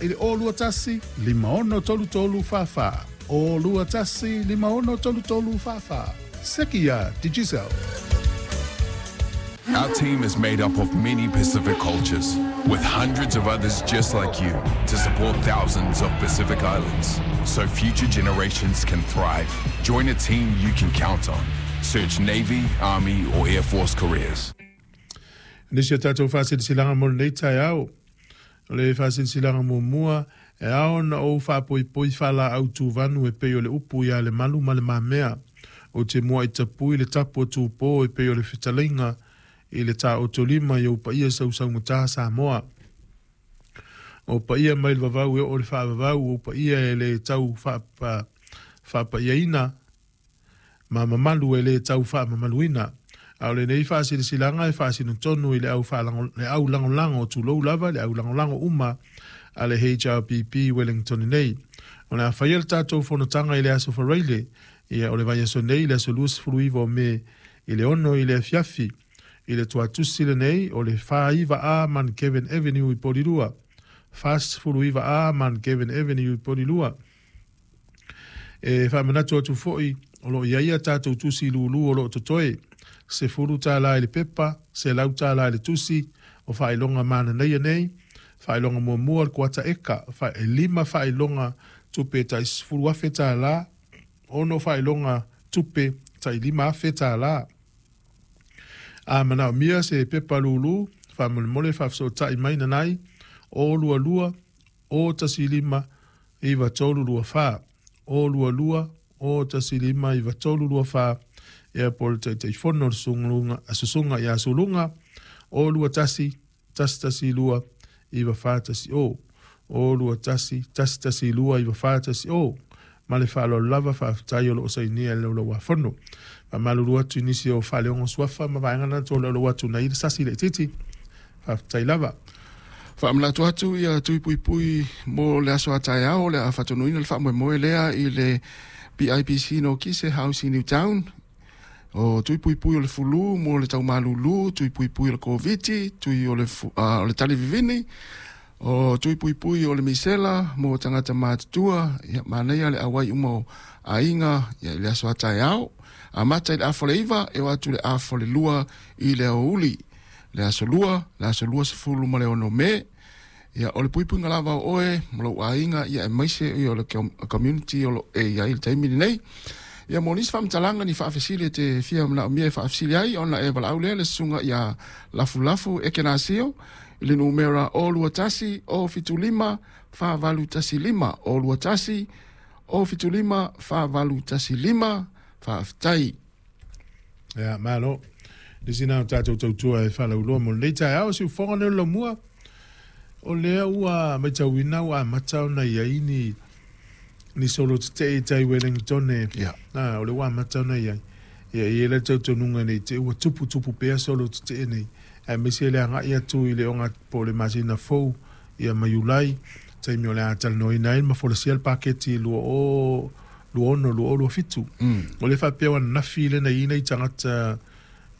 i le 021 5633 44. 021 5633 44. Seki ia Digicel. Our team is made up of many Pacific cultures, with hundreds of others just like you to support thousands of Pacific Islands so future generations can thrive. Join a team you can count on. Search Navy, Army, or Air Force careers. Nisi o tatou faasilasilaga mo lenei taeao. O le faasilasilaga muamua, e ao ona ou faapoipoi faalaau tuvanu e pei o le upu ia Lemalu ma Le Mamea. Ou te muai tapui le tapu a Tupo e pei o le fetalaiga i le taotolima i ou paia sausaugata Samoa. O paia mai le vavau e oo i le faavavau, ou paia e le tau faapaiaina ma mamalu e le tau faamamaluina. A o lenei faasilasilaga e faasino tonu i le au le au lagolago, tulou lava, le au lagolago uma a le HRPP i Wellington nei. O le a faia le tatou fonotaga i le Aso Faraile, ia o le vaiaso nei, le aso 29 o Me i le 6 i le afiafi. I le tuatusi lenei o le 49A Mount Kevin Avenue i Porirua. 49A Mount Kevin Avenue i Porirua. E faamanatu atu foi, o lo o i ai a tatou tusi lulu o lo o totoe, $10 i le pepa, $100 i le tusi, o faailoga mananaia nei, faailoga muamua o le kuata eka, e 5 faailoga tupe tai $10,000, 6 faailoga tupe tai $5,000. A manaomia se pepa lulu, faamolemole faafesootai mai nanai, 022 015 9324, 022 015 9324, ia po o le Taitaifono le Susuga ia Suluga, 021 112 9410, 021 112 9410. Ma le faaaloalo lava, faafetai o lo o sainia i le Laulau-a-Fono. Faamalulu atu i nisi o faaleoga suafa ma vaega na tolaulau atu nai le sasi laitiiti. Faafetai lava. Faamanatu atu ia tui puipui mo le aso a taeao o le a faatonuina le faamoemoe lea i le BIBC no Kise House i Newtown. O tui puipui o le fulu mo le taumalulu, tui puipui o le Koviti, tui o le, o le talivivini, o tui puipui o le misela mo tagata matutua, ia manaia le auai uma o aiga ia, i le aso a taeao. Amata i le afa o le 9, e o atu le afa o le 2 i le aoauli. Le aso 2, le aso 26 Me, ia, o le puipuiga lava o oe ma lou aiga, ia, aemaise ia, o le community o lo e i ai i le taimi lenei. Ia, mo nisi faamatalaga ni faafesili e te fia manaomia e faafesili ai, ona e valaau lea le susuga ia Lafulafu Ekenasio i le numera 021 075 4815, 021 075 4815. Faafetai. Ia, malo. Le sina o tatou tautua e faalauiloa mo lenei taeao, siufofoga lea o le laumua, o lea ua matauina ua amata ona i ai ni ni solo tetee i tai Wellington e, o lea ua amata ona i ai. Ia, e i ai le talitonuga nei te ua tuputupu pea solo tetee nei, aemaise le agai atu i le oga po o le masina fou, ia ma Iulai, taimi o le a talanoaina ai ma folasia le paketi 2026 2027. O lea faapea ua ananafi lea na i ai nai tagata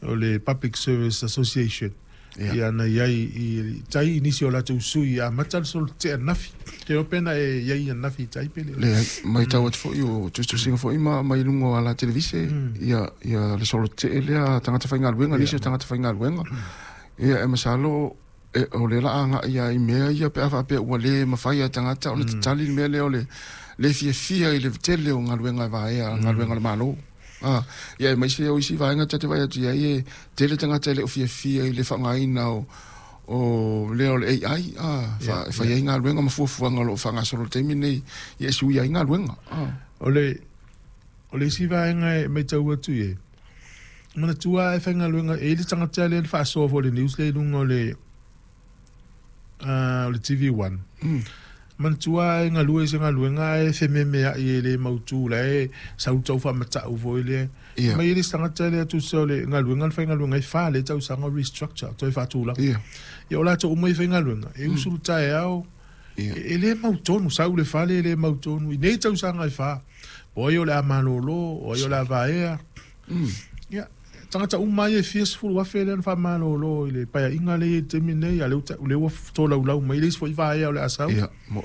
o le Public Service Association ia na i ai i tai i nisi o latou sui e amata le solo tetee ananafi. Te iloa pe na e i ai ananafi i tai pe le. Leai, matau atu foi o tusitusiga foi ma mai luga o ala televise ia ia le solo tetee lea a tagata faigaluega, nisi o tagata faigaluega. Ia e masalo e, o lea la agai lava i mea ia pe a faapea ua le mafai e tagata ona tatali le mea lea o le le fiafia i le tele o galuega e vaea, galuega a le Malo. Ah, ia aemaise o isi vaega ta te vaai atu i ai e tele tagata e le o fiafia i le faaaogaina o o lea o le AI, ah, fa, e fai ai galuega ma fuafuaga o lo o faagasolo i le taimi lenei, ia e suia ai galuega. Ah. O le isi vaega e matau atu i ai, manatua e faigaluega, e i ai le tagata lea na faasoa foi i le news lea i luga o le o le TV1. Manatua e galue i se galuega ae fememeai e le mautu la e sau le tau faamatau foi lea. Mai e le isi tagata lea tusa o le galuega na faigaluega ai 4 lea tausaga o restructure toe faatulaga. Ia o latou uma ia faigaluega e usu le taeao e le mautonu, sau le fale e le mautonu i nei tausaga e 4. Po o ai o le a malolo, o ai o le a vaea. Ia, tagata uma ia e fia 10,000 lea na faamalolo i le paeaiga lea i le taimi lenei, a o lea ua tolaulau mai le isi foi vaea o le a sau. Ia,